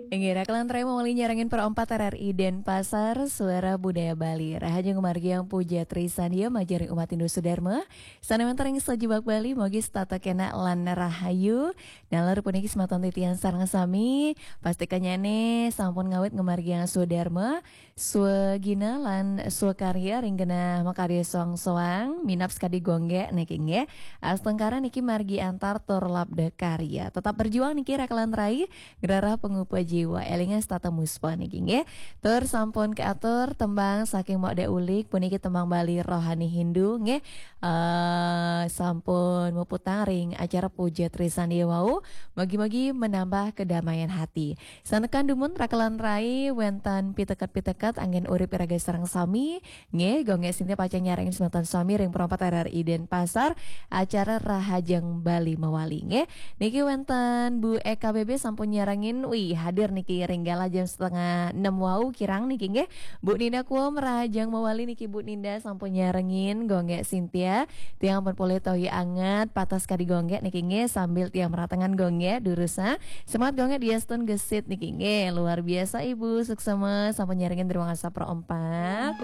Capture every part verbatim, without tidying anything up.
Inggih, rakelan rai mawali nyarengin Pro empat R R I Denpasar, Suara Budaya Bali. Rahajeng ngamargiang puja trisandia majeng ring umat Hindu sadarma. Sané wénten ring sajebag Bali, mugi setata kénak lan rahayu. Nalar puniki semeton titiang sareng sami, pastikanyane sampun ngawit ngamargiang swadarma, swagina lan swakarya ring genah makarya soang-soang, minab sakadi gonggek niki nggih. Astungkara niki margi antar tur labda karya. Tetap berjuang niki rakelan rai, ngrereh pangupa jiwa, elinga setata muspa niki nggih. Tur sampun kaatur tembang saking Mok Dek Ulik, puniki tembang Bali rohani Hindu nggih. Eh, sampun muputang ring acara puja trisandia wau, mugi-mugi menambah kedamaian hati. Santukan dumun rakelan rai wénten piteket-piteket anggén urip iraga sareng sami, nggih, Gung Gek Sintia pacang nyarengin semeton sami ring Pro empat R R I Denpasar, acara Rahajeng Bali mawali, nggih. Niki wénten Bu Eka B B sampun nyarengin, wih, hadir niki ring galah jam setengah enam wau kirang niki, nggih. Bu Ninda Kuom, rahajeng mawali niki Bu Ninda sampun nyarengin, Gung Gek Sintia. Tiang pun polih toya anget, patas kadi Gung Gek niki nggih, sambil tiang meratengan Gung Gek, durusang. Semangat Gung Gek, diastun gesit niki nggih. Luar biasa Ibu, suksma sampun nyarengin ring Wangusa Pro empat.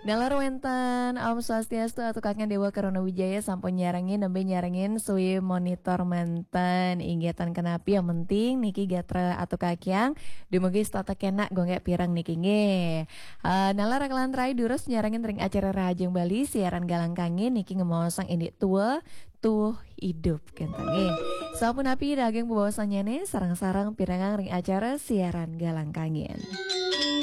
Nalar wénten, Om Swastiastu, Atu Kakang Dewa Karuna Wijaya sampun nyarengin, nembe nyarengin, suwi monitor manten. Inggih tan kenapi, yang penting niki gatra Atu Kakang dumugi setata kénak, Gung Gek pireng niki nggih. Eh, nalar rakelan rai durus nyarengin ring acara Rahajeng Bali siaran Galang Kangin niki ngemaosang indik tua, tuh idup kenten nggih. Sapunapi daging bebaosannyane, sareng-sareng pirengang ring acara siaran Galang Kangin.